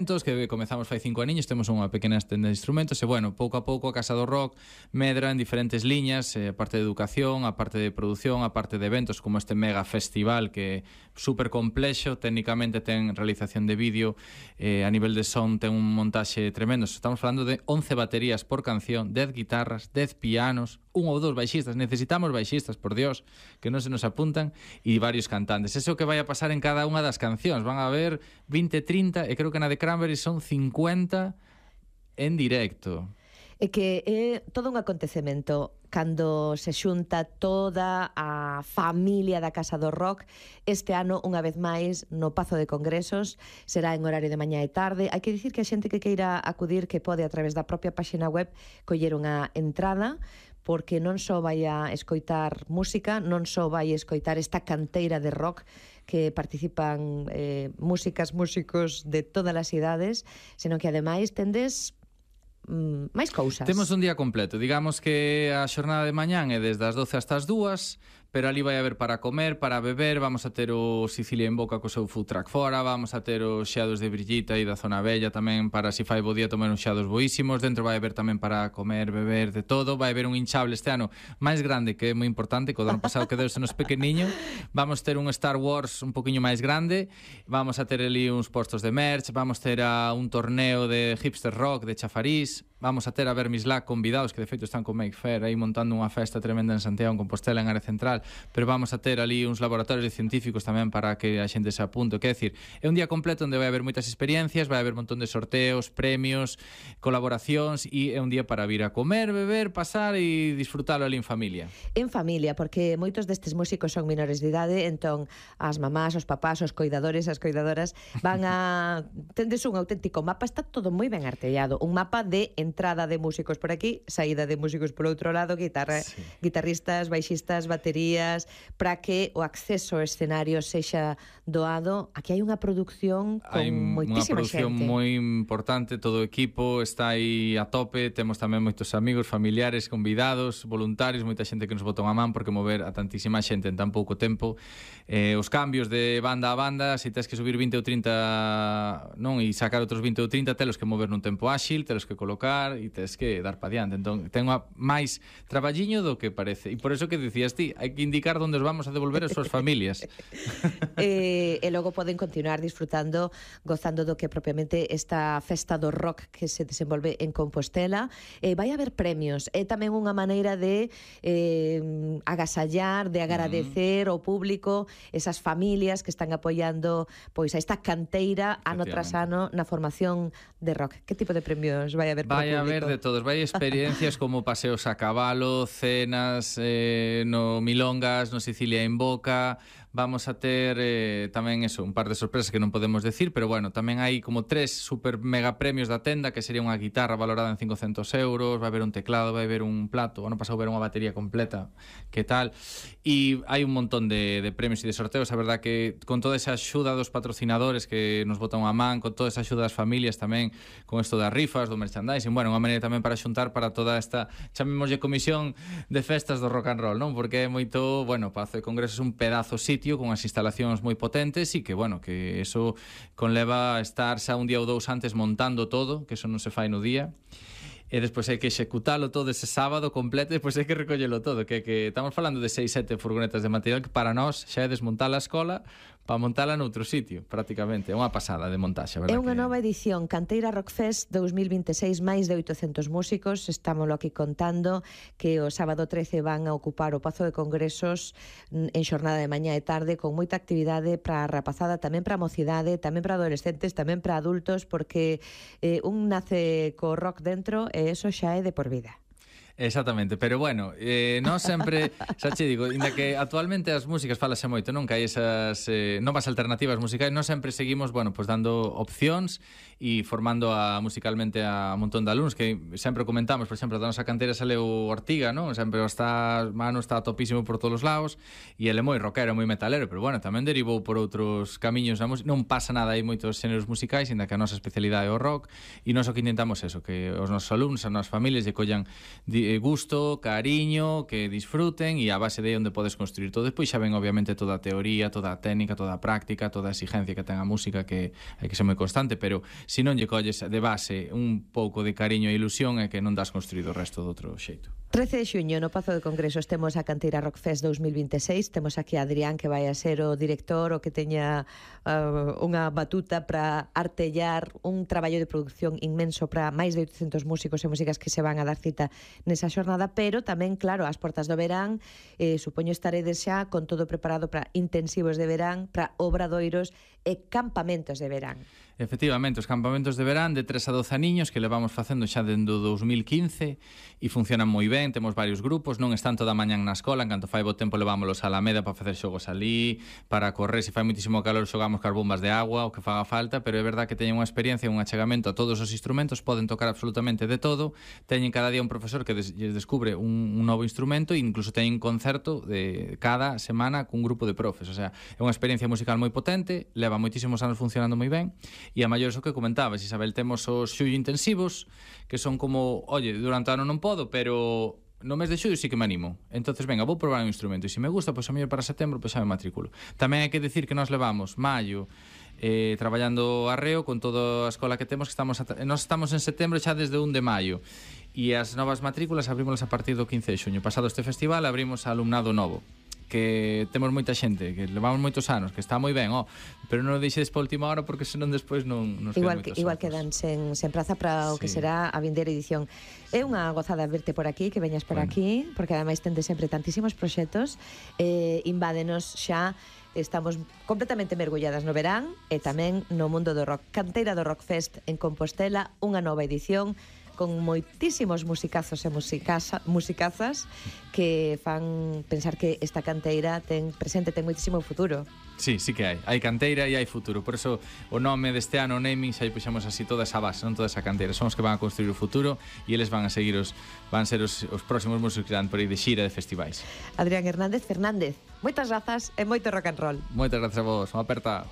que comezamos fai 5 aniños, temos unha pequena tenda de instrumentos e, bueno, pouco a pouco a Casa do Rock medra en diferentes liñas, a parte de educación, a parte de produción, a parte de eventos como este mega festival que é super complexo, técnicamente ten realización de vídeo, a nivel de son ten un montaxe tremendo. Estamos falando de 11 baterías por canción, 10 guitarras, 10 pianos, un ou dous baixistas, necesitamos baixistas, por Dios, que non se nos apuntan, e varios cantantes. Eso que vai a pasar en cada unha das cancións, van a haber 20, 30, e creo que na de Cranberry son 50 en directo. É que é todo un acontecemento cando se xunta toda a familia da Casa do Rock. Este ano, unha vez máis, no Pazo de Congresos, será en horario de mañá e tarde. Hai que dicir que a xente que queira acudir, que pode a través da propia páxina web coller unha entrada, porque non só vai a escoitar música, non só vai a escoitar esta canteira de rock que participan músicos de todas as idades, senón que ademais tendes máis cousas. Temos un día completo, digamos que a xornada de mañán é desde as 12 hasta as 2, pero ali vai haber para comer, para beber, vamos a ter o Sicilia en Boca co seu food truck fora, vamos a ter os xeados de Brillita e da Zona Bella tamén para si fai bo día tomar uns xeados boísimos, dentro vai haber tamén para comer, beber, de todo, vai haber un hinchable este ano máis grande, que é moi importante, que o ano pasado que deuse nos pequeniño, vamos ter un Star Wars un poquinho máis grande, vamos a ter ali uns postos de merch, vamos ter un torneo de hipster rock de Chafarís, vamos a ter a Vermislac convidados, que de feito están con Make Fair aí montando unha festa tremenda en Santiago, en Compostela, en área central, pero vamos a ter ali uns laboratorios de científicos tamén para que a xente se apunte. Quer decir, é un día completo onde vai haber moitas experiencias, vai haber un montón de sorteos, premios, colaboracións, e é un día para vir a comer, beber, pasar e disfrutalo ali en familia. En familia, porque moitos destes músicos son menores de idade, entón as mamás, os papás, os coidadores, as coidadoras van a... tendes un auténtico mapa, está todo moi ben artellado, un mapa de entrada de músicos por aquí, saída de músicos por outro lado, guitarristas, baixistas, baterías, para que o acceso ao escenario sexa doado. Aquí hai unha produción con moitísima xente. Hai unha produción moi importante, todo o equipo está aí a tope, temos tamén moitos amigos, familiares, convidados, voluntarios, moita xente que nos botou a man, porque mover a tantísima xente en tan pouco tempo, os cambios de banda a banda, se tes que subir 20 ou 30 non, e sacar outros 20 ou 30, telos que mover nun tempo áxil, telos que colocar e tes que dar pa diante. Entón, ten máis traballiño do que parece, e por eso que dicías ti, hai que indicar onde os vamos a devolver as súas familias. E logo poden continuar disfrutando, gozando do que propiamente esta festa do rock que se desenvolve en Compostela. Vai haber premios, é tamén unha maneira de agasallar, de agradecer ao público, esas familias que están apoiando pois a esta canteira ano tras ano na formación de rock. Que tipo de premios vai haber para o público? Vai haber de todos, vai experiencias como paseos a cabalo, cenas no Milongas, no Sicilia en Boca. Vamos a ter tamén eso, un par de sorpresas que non podemos decir, pero bueno, tamén hai como 3 super mega premios da tenda, que sería unha guitarra valorada en 500 euros, vai haber un teclado, vai haber un plato, ano pasado haber unha batería completa, que tal, e hai un montón de premios e de sorteos. A verdad que con toda esa axuda dos patrocinadores que nos botan a man, con toda esa axuda das familias tamén, con isto das rifas, do merchandising, bueno, unha maneira tamén para xuntar para toda esta, chamémoslle comisión de festas do rock and roll, non? Porque é moito, bueno, Pazo de Congresos é un pedazo sitio con as instalacións moi potentes e que, bueno, que eso conleva a estar xa un día ou dous antes montando todo, que eso non se fai no día, e despois hai que executalo todo ese sábado completo, e despois hai que recollelo todo, que estamos falando de 6-7 furgonetas de material que para nós xa é desmontar a escola para montala noutro sitio, prácticamente. É unha pasada de montaxe, verdad? É unha nova edición, Canteira Rock Fest 2026, máis de 800 músicos. Estámoslo aquí contando que o sábado 13 van a ocupar o Pazo de Congresos en xornada de mañá e tarde, con moita actividade para a rapazada, tamén para a mocidade, tamén para adolescentes, tamén para adultos, porque un nace co rock dentro e eso xa é de por vida. Exactamente, pero bueno, non sempre, xa che digo, inda que actualmente as músicas falase moito, non? Que hai esas novas alternativas musicais, non sempre seguimos, bueno, pues dando opcións e formando musicalmente a un montón de alumnos, que sempre comentamos, por exemplo, da nosa cantera sale o Ortiga, non? Sempre Manu está topísimo por todos os lados, e ele é moi rockero, moi metalero, pero bueno, tamén derivou por outros camiños na música, non pasa nada, hai moitos xéneros musicais, inda que a nosa especialidade é o rock, e nós o que intentamos eso, que os nosos alumnos, as nosas familias lle collan gusto, cariño, que disfruten, e a base de onde podes construir todo. Despois xa ven obviamente toda a teoría, toda a técnica, toda a práctica, toda a exigencia que ten a música, que hai que ser moi constante, pero se non lle colles de base un pouco de cariño e ilusión, é que non das construído o resto do outro xeito. 13 de xuño no Pazo de Congresos temos a Canteira Rock Fest 2026. Temos aquí a Adrián, que vai a ser o director, o que teña unha batuta para artellar un traballo de producción inmenso para máis de 800 músicos e músicas que se van a dar cita nesa xornada, pero tamén, claro, ás portas do verán, supoño estaredes xa con todo preparado para intensivos de verán, para obradoiros e campamentos de verán. Efectivamente, os campamentos de verán de 3 a 12 aniños que levamos facendo xa dende o 2015 e funcionan moi ben, temos varios grupos, non están toda a mañán na escola, en canto fai bo tempo levámolos a Alameda para facer xogos ali, para correr, se fai moitísimo calor xogamos cas bombas de agua, o que faga falta, pero é verdad que teñen unha experiencia, un achegamento a todos os instrumentos, poden tocar absolutamente de todo, teñen cada día un profesor que descubre un novo instrumento e incluso teñen concerto de cada semana cun grupo de profes, o sea, é unha experiencia musical moi potente, leva moitísimos anos funcionando moi ben. E a maior iso que comentabas, Isabel, temos os xullo intensivos, que son como, oye, durante o ano non podo, pero no mes de xullo sí que me animo. Entonces, venga, vou probar un instrumento, e se me gusta, pois a mellor para setembro, pois xa me matriculo. Tamén hai que decir que nós levamos maio traballando arreo con toda a escola que temos, que nós estamos en setembro xa desde 1 de maio. E as novas matrículas abrimos a partir do 15 de xuño. Pasado este festival, abrimos a alumnado novo, que temos moita xente, que levamos moitos anos, que está moi ben, pero non o deixedes para a última hora porque senón despois non nos quedan moitos igual quedan sen praza para o que será a vindeira edición. É unha gozada verte por aquí, que veñas por aquí, porque ademais tende sempre tantísimos proxectos, invádenos xa. Estamos completamente mergulladas no verán e tamén no mundo do rock. Canteira do Rock Fest en Compostela, unha nova edición con moitísimos musicazos e musicazas que fan pensar que esta canteira ten presente, ten moitísimo futuro. Sí, sí que hai canteira e hai futuro. Por eso o nome deste ano, o naming, xa puxemos así toda esa base, non toda esa canteira. Son os que van a construir o futuro e eles van a seguir van ser os próximos músicos que dan por aí de xira de festivais. Adrián Hernández Fernández, moitas grazas e moito rock and roll. Moitas grazas a vos, unha aperta.